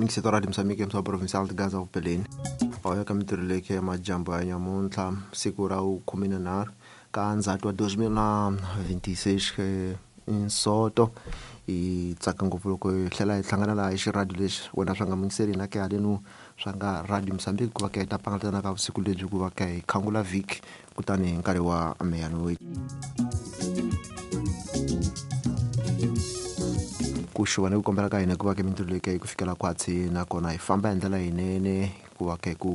Mingiseti wa Radio Mozambique msa provincial de Gaza upeleni. Oya ka mintirho leyi ya majambu ya nyamuntlha siku ra 13 ka Ndzhati wa 2026 Nsoto hi tsaka ngopfu loko hi tlhela hi hlangana laha hi xiradio lexi wena swa nga mingiseli na ke halenu swa nga Radio Mozambique ku va ka hi ta pangalatana ka vusiku lebyi ku va ka hi khangula vhiki kutani hi nkarhi wa meyanoyi ku xuva ni ku kombela ka hina ku va ke mintirho leyi ka yi ku fikela khwatsi nakona hi famba hi ndlela yinene ku va ka ku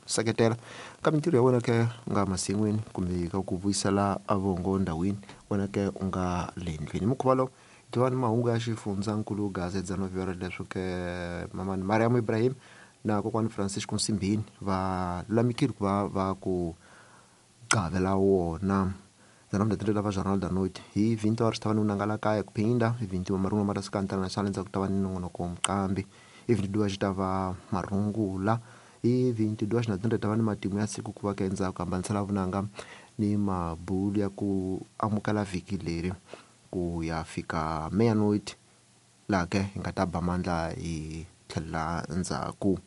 seketela ka mintirho ya wena ke u nga masin'wini kumbe ka ku vuyisela vongo ndhawini wena ke u nga le ndlwini mukhuva lowu tiva ni mahungu ya xifundzankulu gaza dzano leswo ke mamani Mariam Ibrahim na kokwani Francisco Nsimbini va lulamikile ku va va ku qavela wona dzana va Jornal da Noite hi 20 horas tava ni unangala kaya kuphinda hi 21 marungu mara suka international endzhaku ta va ni nongonoko muqambi hi 22 xi ta va marungula hi 22 na 30 ta va ni matimu ya siku ku va ka endzhaku hambanisela vunanga ni mabulu ya ku amukela vhiki leri ku ya fika meia-noite laha ke hi nga ta ba mandla hi tlhelela ndzhaku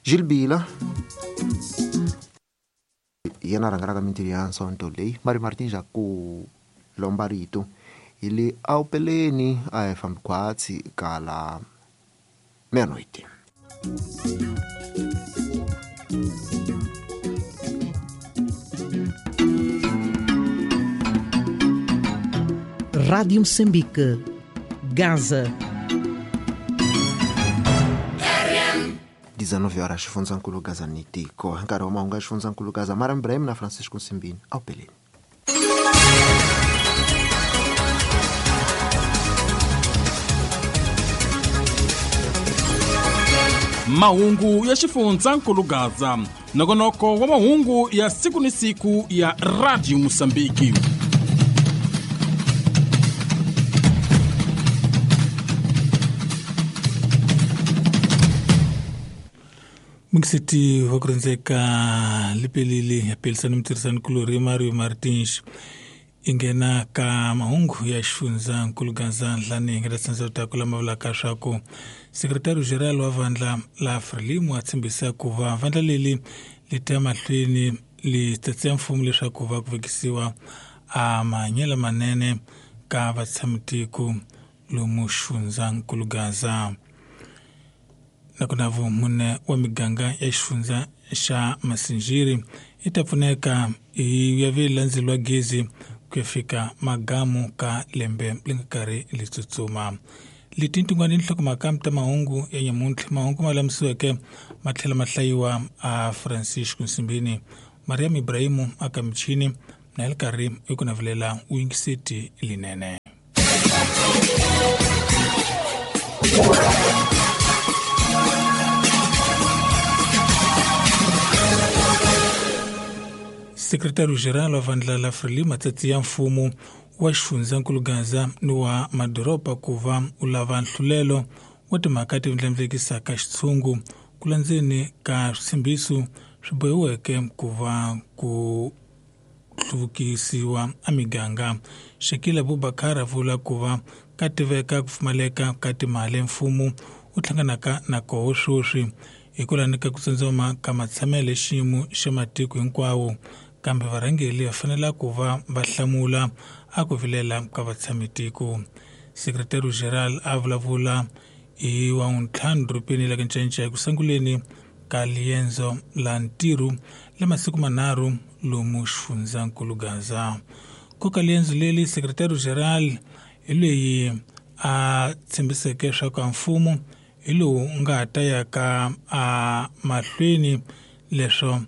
Gilbila yena rhangelaka mintirho ya nsonto leyi Mari Martin ja ku lomba rito hi le awupeleni a hi fambi khwatsi kala meia-noite. Rádio Moçambique, Gaza. 19 horas xifundzankulu Gaza ni tiko hi nkarhi wa mahungu ya xifundzankulu Gaza Mariam Ibrahim na Francisco Nsimbini awupeleni. Mahungu ya xifundzankulu Gaza nongonoko wa mahungu ya siku ni siku ya Radio Mozambique. Mungiseti wa ku rindzeka lipelile ya pelisani mutirhisani kulori Mario Martins i nghena ka mahungu ya xifundzankulu Gaza nhlani hi nga ta tsandza ta ku lama vulaka swa ku sekretari general wa vandla la Frelimo a tshembisa ku va vandla leri li ta mahlweni li tsatsia mfumo leswaku va ku vekisiwa a mahanyelo manene ka vatshamitiko lomu xifundzankulu Gaza. Nakona vumune wa miganga ya xifundza xa Masinjiri yi ta pfuneka hi ya vi landzelwa gezi ku ya fika magamu ka lembe li nga karhi li tsutsuma. Leti tin'wana nhlokomhaka ta mahungu ya nyamuntlha mahungu ma lamisiweke ma tlhela ma hlayiwa a Francisco Nsimbini Mariam Ibrahimu aka michini na hi karhi i ku navelela u yingiseti linene. Sekretari general wa vandla la Frelimo matsatsi ya mfumo wa xifundzankulu Gaza ni wa madoroba ku va u lava nhlulelo wa timhaka ti ndlandlamukisaka xitshungu ku landzeni ka switshembiso swi bohiweke ku va ku hluvukisiwa a miganga. Shakila Abubakar a vula ku va ka tiveka ku pfumaleka ka timali mfumo wu hlanganaka na koho sweswi hi ku landza ku tsandzama ka matshamelo xiyimo xa matiko hinkwawo kambe varhangeri va fanele ku va va hlamula a ku vilela ka vatshamitiko. Sekretari general a vulavula hi wa ntlhanu dorobeni la Ncancai ku sunguleni ka liendzo la ntirho la masiku manharhu lomu xifundzankulu Gaza. Koka liendzo leri sekretari general hi leyi a tshembiseke swa ku mfumo hi lowu nga ta ya ka a mahlweni leswo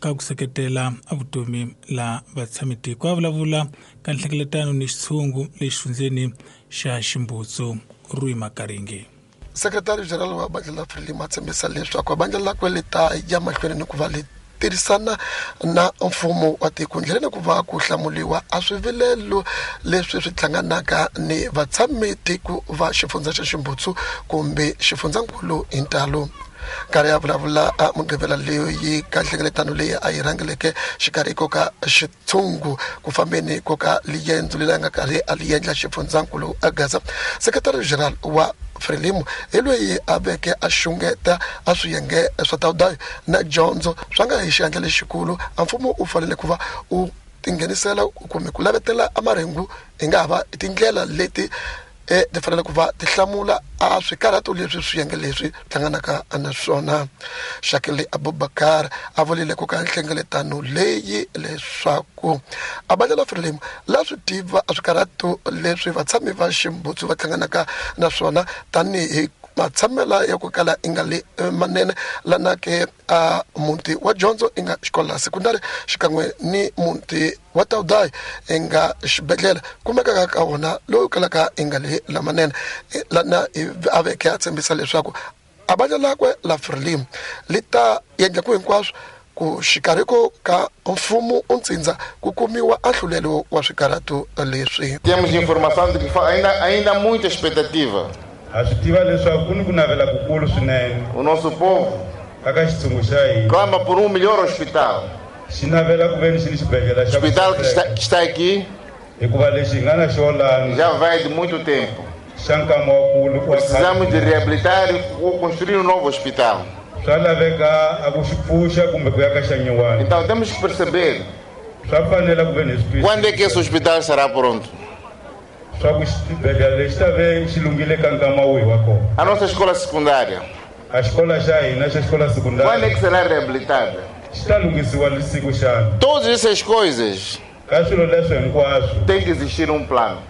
ka ku seketela a vutomi la vatshamitiko. A vulavula ka nhlengeletano ni xitshungu lexi fundzeni xa Ximbutsu Rui Makaringi. Sekretari general wa vandla la Frelimo a tshembisa leswaku vandla lakwe li ta ya mahlweni ni ku va li tirhisana na mfumo wa tiko ndleleni ku va ku hlamuliwa a swivilelo leswi swi hlanganaka ni vatshamitiko va xifundza xa Ximbutsu kumbe xifundzankulu hi ntalo. Nkarhi ya vulavula a Mugqivela leyi ka nhlengeletano leyi a yi rhangeleke xikarhi ko ka xitshungu ku fambeni ko ka liendzo leri a nga karhi a li endla xifundzankulu a Gaza. Sekretari general wa Frelimo hi loyi a veke a xungeta a swiyenge swa Taudayo na dyondzo swa nga hi xiandla lexikulu a mfumo u fanele ku va u tinghenisela kumbe ku lavetela a marhengu hi nga ha va tindlela leti ti fanele ku va ti hlamula a swikarhato leswi swiyenge leswi hlanganaka na swona. Shakili Abubakar a vurile ku ka nhlengeletano leyi leswaku a bandla la Frelimo la swi tiva a swikarhato leswi vatshami va Ximbutsu va hlanganaka na swona tanihi matshamela ya ku kala i nga le manene lana ke a muti wa dyondzo i nga xikolo la sekondari xikan'we ni muti wa Taudayi i nga xibedhlele kumekaka ka wona lowu kalaka i nga le lamanene lana a veke a tshembisa leswaku a bandla lakwe la Frelimo li ta endla ku hinkwaswo ku xikarhiko ka mfumo u ntsindza ku kumiwa ahlulelo wa swikarhato leswi. Temos informação de que ainda há muita expectativa. Ha swi tiva leswaku ku ni ku navela kukulu swinene. O nosso povo aka xitshungu xa hina clama por um melhor hospital. Xi navela ku ve ni xi ni xibedhlele xa hospital que está aqui hikuva lexi hi nga na xona já vai de muito tempo. Xa nkama wa kulu. Precisamos de reabilitar ou construir um novo hospital. Swa laveka a ku xi pfuxa kumbe ku ya ka xa nyuwana. Então temos que perceber swa fanela ku ve ni swi quando é que esse hospital será pronto. Swa ku xibedhlele lexi ta ve xi lunghile ka nkama wihi wa kona. A nossa escola secundária. A escola xa hina xa escola secundária. Quando é que será reabilitada? Xi ta lunghisiwa siku xana. Todas essas coisas. Ka swilo leswi hinkwaswo tem que existir um plano.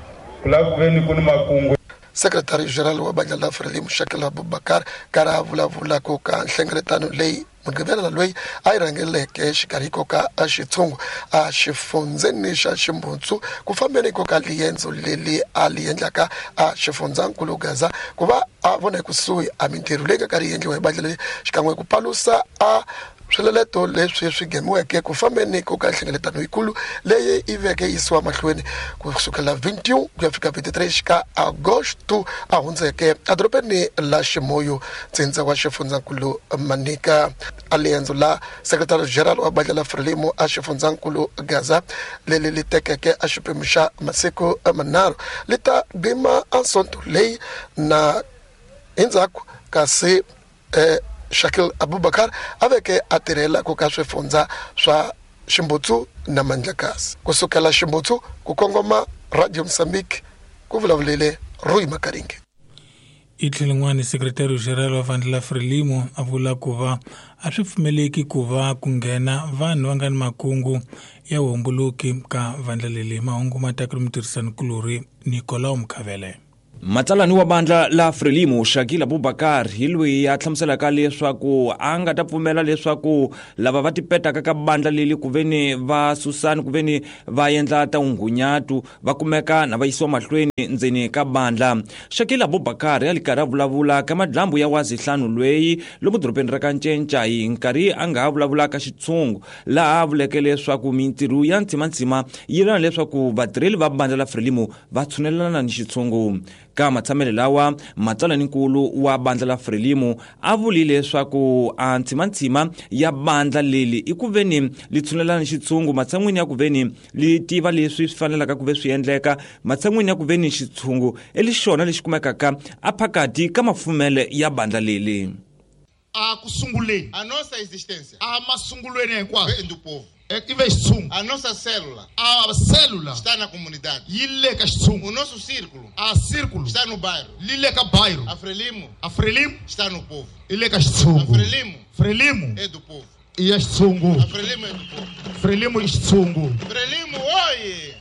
Ku lava ku ve ni ku ni makungu. Secretary-General wa bandla la Frelimo Shakil Abubakar karhi a vulavula ku ka nhlengeletano leyi Mugqivela loyi a yi rhangeleke xikarhiko ka xitshungu a xifundzeni xa Ximbutsu ku fambeni ko ka liendzo leri a li endlaka a xifundzankulu Gaza ku va a vona ekusuhi a mintirho leyi nga karhi yi endliwa hi bandla leri xikan'we ku palusa a swileleto leswi swi ngheniweke ku fambeni ko ka nhlengeletano yikulu leyi yi veke yisiwa mahlweni ku sukela 21 ku ya fika 23 ka Agosto a hundzeke edorobeni la Ximoyo ntsindza wa xifundzankulu Manika. A liendzo la Secretary General wa bandla la Frelimo a xifundzankulu Gaza leri li tekeke a xiphemu xa masiku manharhu li ta gima a sonto leyi na endzhaku kasi Shakil Abubakar a veke a tirhela ku ka swifundza swa Ximbutsu na Mandlakazi. Ku sukela Ximbutsu ku kongoma Radio Mozambique ku vulavulele Rui Makaringe. I tlhelo Secretary General wa vandla la Frelimo a vula ku va a swi pfumeleki ku va ku nghena vanhu va nga ni makungu ya vuhomboloki ka vandla leri. Mahungu ma ta ku ri mutirhisanikulorhi Nicolau Mkhavele. Matsalani wa bandla la Frelimo Shakil Abubakar hi loyi a hlamuselaka leswaku a nga ta pfumela leswaku lava va tipetaka ka bandla leri ku veni va susani ku veni va endla ta ungunyatu va kumeka na va yisiwa mahlweni ndzeni ka bandla. Shakil Abubakar ya li karhi a vulavula ka madlambu ya wazihlanu lweyi lomu dorobeni ra ka Ncenca hi nkarhi a nga ha vulavula ka xitshungu laha a vuleke leswaku mintirho ya ntsimantsima yi lava leswaku vatirheli va bandla la Frelimo va tshunelelana ni xitshungu. Ka matshamelo lawa matsalaninkulu wa bandla la Frelimo a vulile leswaku a ntsimantsima ya bandla leri i ku veni li tshunelana ni xitshungu matshan'wini ya ku veni li tiva leswi swi fanelaka ku ve swi endleka matshan'wini ya ku veni xitshungu i lexona lexi kumekaka a phakati ka mafumele ya bandla leri. A ku sunguleni a nossa existência a masungulweni hinkwaswo vem do povo. E ve xitshungu. A nossa célula a célula está na comunidade. Yi le ka xitshungu. O nosso círculo a círculo está no bairro. Li le ka bairro. A Frelimo a Frelimo está no povo. I le ka xitshungu. A Frelimo Frelimo é do povo. I ya xitshungu. A Frelimo é do povo. Frelimo i xitshungu. Frelimo oye.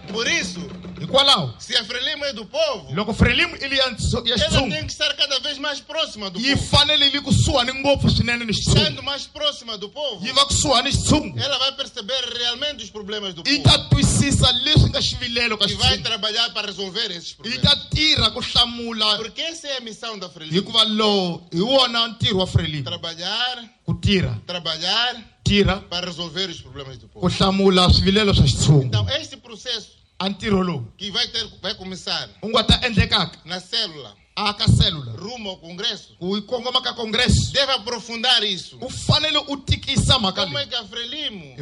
Por isso, hikwalaho, se a Frelimo é do povo, loko Frelimo ili ya ela tem que estar cada vez mais próxima do yi povo. Fanele li kusuhani ngopfu swinene ni xitshungu. Estando mais próxima do povo, yi va kusuhani xitshungu. Ela vai perceber realmente os problemas do yi povo. Ta twisisa leswi nga xivilelo ka E vai xitshungu. trabalhar para resolver esses Yi problemas. ta tirha ku hlamula. Porque essa é a missão da Frelimo. Hikuva lowu hi wona ntirho wa Frelimo. Trabalhar, ku tirha, trabalhar tirha para resolver os problemas do ku povo. hlamula swivilelo swa xitshungu. Então, este processo a ntirho lowu que vai começar u nga ta endlekaka na célula Aka célula rumo ao Congresso ku kongoma ka congresso deve aprofundar isso. U fanele u tikisa mhaka Como é leyi que a Frelimo,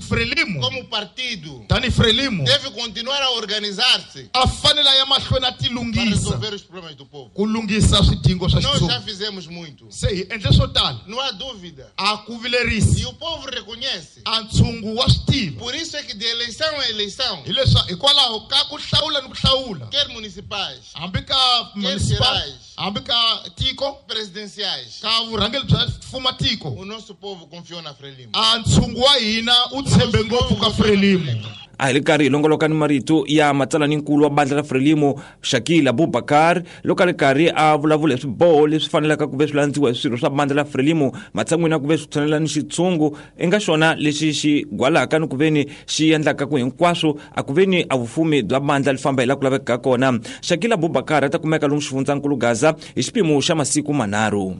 Frelimo como partido, tani Frelimo deve continuar a organizar-se a fanele a ya mahlweni a para tilunghisa resolver os problemas do povo. ku lunghisa swidingo swa Nós já xitshungu. fizemos muito. Se hi endle swo tala. Não há dúvida. A ku vilerisi. E o povo reconhece. A ntshungu wa swi tiva. Por isso é que de eleição em eleição, Hileswa hikwalaho ka ku hlawula ni ku hlawula, quer municipais, hambi ka municipal, gerais, hambi ka tiko, presidenciais, ka vurhangeri bya mfuma tiko, o nosso povo confiou na Frelimo. A ntshungu wa hina u tshembe ngopfu ka Frelimo. A hi ri karhi hi longoloka ni marito ya matsalaninkulu wa bandla ra Frelimo Shakil Abubakar loko a ri karhi a vulavula hi swiboho leswi fanelaka ku ve swi landziwa hi swirho swa bandla ra Frelimo matshan'wini ya ku ve swi tshwanela ni xitshungu i nga xona lexi xi gwalaka ni ku ve ni xi endlaka ku hinkwaswo a ku ve ni a vufumi bya bandla li famba hi laha ku lavekaka kona. Shakil Abubakar a ta kumeka lomu xifundzankulu Gaza hi xiphemu xa masiku manharhu.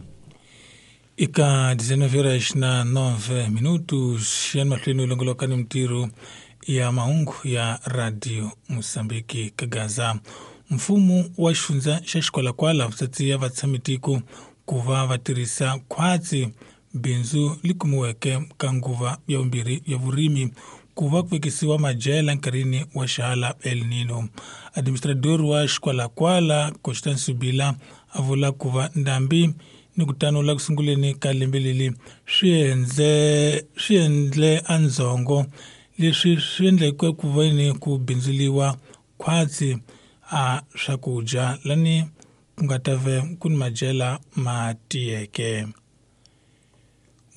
Eka 19 horas na 9 minutos yani mahlweni longoloka ni mintirho ya mahungu ya Radio Mosambiki ka Gaza. Mfumo wa xifundza xa Xikwalakwala wu ya vatshamitiko ku va va tirhisa khwatsi bindzu li kumiweke ka nguva ya vumbirhi ya vurimi ku va ku vekisiwa madyela nkarhini wa xihala El Nino. Administrador wa Xikwalakwala Constance Subila a vula ku va ndhambi ni ku tanula ku sunguleni ka lembe leri swi endle andzhongo leswi swi endleke ku veni ku bindzuliwa khwatsi a swakudya lani ku nga ta ve ku ni madyela ma tiyeke.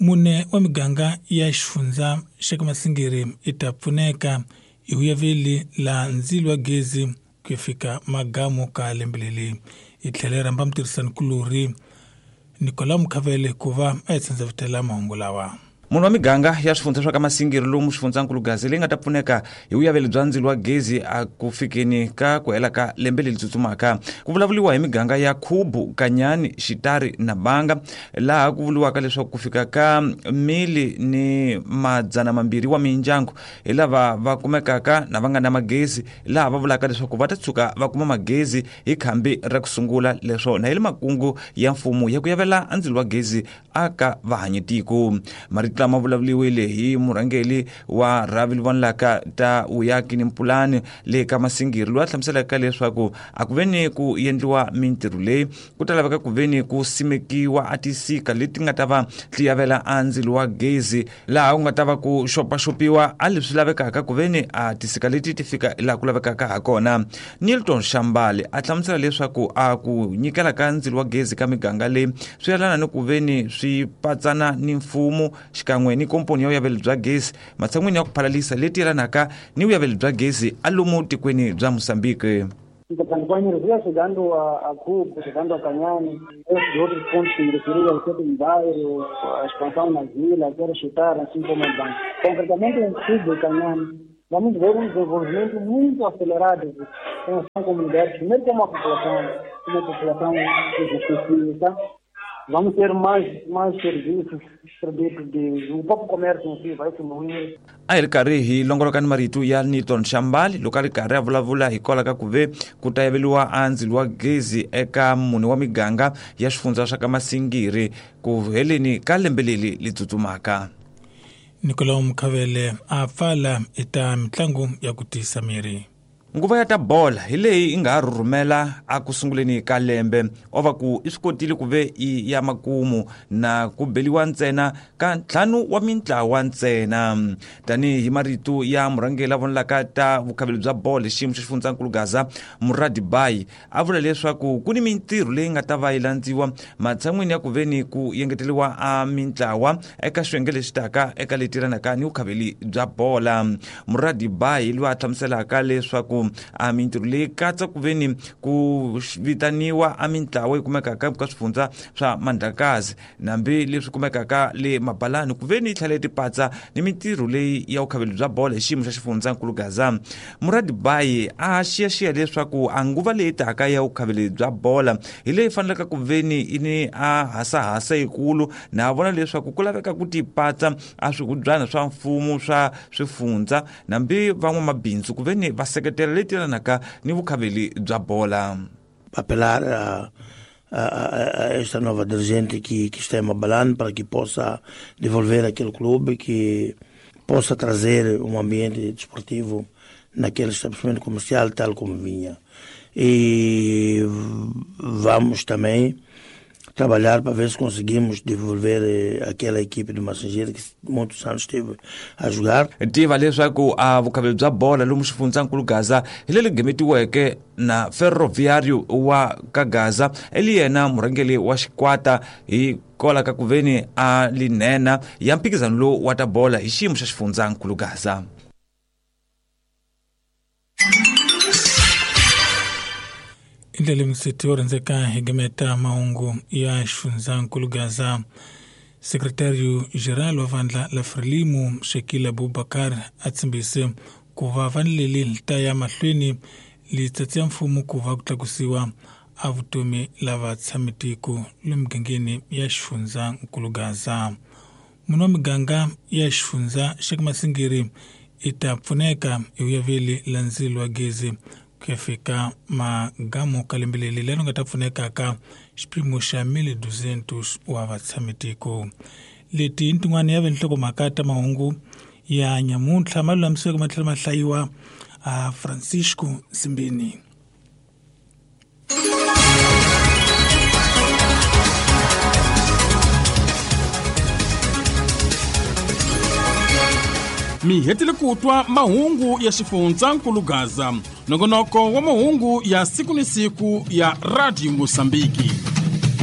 Mune wa miganga ya xifundza xa ka Masingiri i ta pfuneka hi vuyaveli la ndzilo wa gezi ku ya fika magamu ka lembe leri. Hi tlhela hi rhamba mutirhisanikulorhi Nicolas Mukhavele ku va a hi tsandza mahungu lawa. Munhu wa miganga ya swifundza swa ka Masingiri lomu xifundzankulu Gaza leyi nga ta pfuneka hi vuyaveli bya ndzilo wa gezi a ku fikeni ka ku hela ka lembe leri tsutsumaka. Ku vulavuriwa hi miganga ya Khubu, Kanyani, Xitari na Banga, laha ku vuriwaka leswaku ku fika ka 1,200 wa mindyangu hi lava va kumekaka na va nga na magezi, laha va vulaka leswaku va ta tshuka va kuma magezi hi khambi ra ku sungula. Leswo na hi le makungu ya mfumo ya ku yavela ndzilo wa gezi aka vahanyitiko. Marito lama vulavuriwile hi murhangeri wa rhavi vonlaka ta vuyaki ni mpulani le ka Masingiri loyi a hlamuselaka leswaku a ku veni ku endliwa mintirho leyi ku ta laveka ku veni ku simekiwa a tisika leti nga ta va ti yavela a ndzilo wa gezi, laha ku nga ta va ku xopaxopiwa a leswi lavekaka ku veni a tisika leti ti fika laha ku lavekaka ha kona. Nilton Shambali a hlamusela leswaku a ku nyikela ka ndzilo wa gezi ka miganga leyi swi yelana ni ku veni swi patsana ni mfumo xikan'we ni komponi ya vuyaveli bya gezi matshan'wini ya ku phalalisa leti yelanaka ni vuyaveli bya gezi a lomu tikweni bya Mozambique. A energia chegando a Cuba, chegando a Canhane, esses outros pontos que me referi, o sétimo bairro, a expansão na vila, quero chutar, assim como a banca. Concretamente em Cuba e Canhane, vamos ver um desenvolvimento muito acelerado em relação à comunidade, primeiro como a população específica. Vamos ter mais serviços, produtos de o próprio comércio em si vai fluir. A hi ri karhi hi longoloka ni marito ya Nilton Shambali loko a ri karhi a vulavula hikwalaho ka ku ve ku ta yaveliwa a ndzilo wa gezi eka mune wa miganga ya xifundza swa ka Masingiri ku heleni ka lembe leri li tsutsumaka. Nicolas Mukhavele a pfala eka mitlangu ya ku tiyisa miri. Nguva ya ta bola hi leyi yi nga ha rhurhumela a ku sunguleni ka lembe o va ku i swi kotile ku ve i ya makumu na ku beliwa ntsena ka 5 wa mintlawa ntsena. Tanihi marito ya murhangeri la vonelaka ta vukhaveli bya bolo hi xiyimo xa xifundzankulu Gaza Muradi Bai a vula leswaku ku ni mintirho leyi nga ta va yi landziwa matshan'wini ya ku veni ku yengeteriwa a mintlawa eka xiyenge lexi taka eka leti yelanaka ni vukhaveli bya bola. Muradi Bai loyi a hlamuselaka leswaku a mintirho leyi katsa ku veni ku vitaniwa a mintlawa yi kumekaka ka swifundza swa Mandlakazi nambi leswi kumekaka le Mabalani ku veni yi tlhela yi tipatsa ni mintirho leyi ya vukhaveli bya bolo hi xiyimo xa xifundzankulu Gaza. Muradi Bai a xiyaxiya leswaku a nguva leyi taka ya vukhaveli bya bola hi leyi fanelaka ku veni i ni a hasahasa yikulu na vona leswaku ku laveka ku tipatsa a swikubyana swa mfumo swa swifundza nambi van'wamabindzu ku veni va seketela leti yelanaka ni vukhaveli bya bola. apelar a esta nova dirigente que está em Mabalane para que possa devolver aquele clube, que possa trazer um ambiente desportivo naquele estabelecimento comercial tal como vinha. E vamos também trabalhar para ver se conseguimos devolver aquela equipe do Massingir que muitos anos esteve a jogar. Tiva leswaku a vukhaveli bya bola lomu xifundzankulu Gaza hi leri gimetiweke na Ferroviário wa ka Gaza eli yena murhangeri wa xikwata hi kola ka ku veni a linena ya mphikizano lowu wa ta bola hi xiyimo xa xifundzankulu Gaza. Indlela msiti wo rhandzeka hi gimeta mahungu ya xifundzankulu Gaza. Secretário geral wa vandla la Frelimo Shakil Abubakar a tshembise ku va vanleli ta ya mahlweni litsatsi ya mfumo ku va ku tlakusiwa a vutomi lava tshamitiko le migangeni ya xifundzankulu Gaza. Munhu wa miganga ya xifundza xa Masingiri i ta pfuneka hi uyaveli la ndzilo wa gezi ku ya fika magamu ka lembe leri leri nga ta pfunekaka xiphemu xa 1200 wa vatshamitiko. Leti i tin'wana ya vinhlokomhaka ta mahungu ya nyamuntlha ma lulamisiweke ma tlhela ma hlayiwa a Francisco Simbini. Mi hetile ku twa mahungu ya xifundzankulu Gaza, nongonoko wa mahungu ya siku ni siku ya Radio Mosambiki.